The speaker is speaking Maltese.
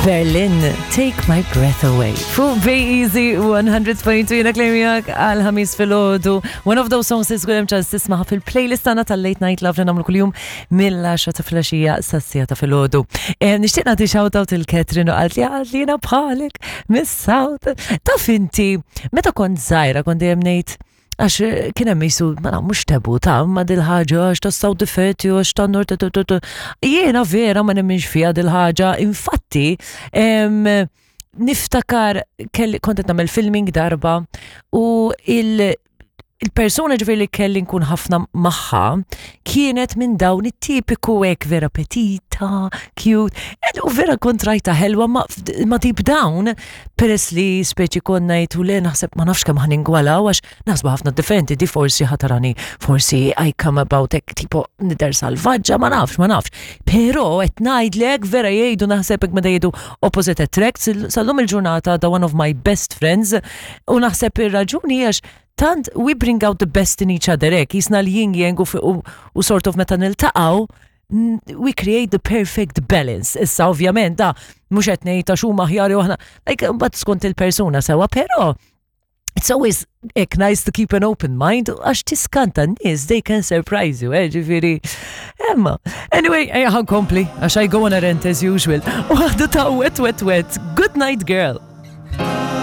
Berlin, Take My Breath Away. Fuq Bay Easy 100.2 jena klejmijak għal ħamis fil-ħodu. One of those songs li żgur hemm ċans tismaħa fil-playlist tagħna tal-Late Night Love li nagħmlu kuljum mill-10 ta' filgħaxija sas-siegħa ta' filgħodu. Eh, nixtieq nagħti shout out il Catherine u qalt li qalt li jiena bħalek mis-South. Taf inti, meta kont żgħira kont dejjem ngħid Għax eh, kien hemm jisu, ma naf, mhux tabu ta' ma dil-ħaġa għax ta' South difetti għax ta' nord Jiena vera ma nemminx fiha dil-ħaġa, infatti em, niftakar kelli kont qed nagħmel filming darba u il il-persuna ġifieri li kelli nkun ħafna magħha kienet minn dawn it-tipiku hekk vera petita, cute, u vera kont rajta ħelwa ma, ma deep down peress li speċi konna jgħidu le naħseb ma nafx kemm ħaningwalaw għax naħsbu ħafna differenti di forsi ħatarani forsi I come about hekk tipo nidher salvaġġa ma nafx ma nafx. Però qed ngħidlek vera jgħidu naħseb hekk meta jgħidu opposite attracts sal-lum il-ġurnata da one of my best friends u naħseb ir-raġuni għax tant we bring out the best in each other hekk jisna l-yin yang u, u sort of meta niltaqgħu we create the perfect balance. Issa ovvjament da mhux qed ngħid għax huma aħjar jew aħna like mbagħad skont il-persuna sewa, però it's always ek nice to keep an open mind għax tiskanta n-nies they can surprise you, eh, ġifieri. Emma, anyway, ejja ħankompli għax I go on a rant as usual. U għadu ta' wet wet wet. Good night girl.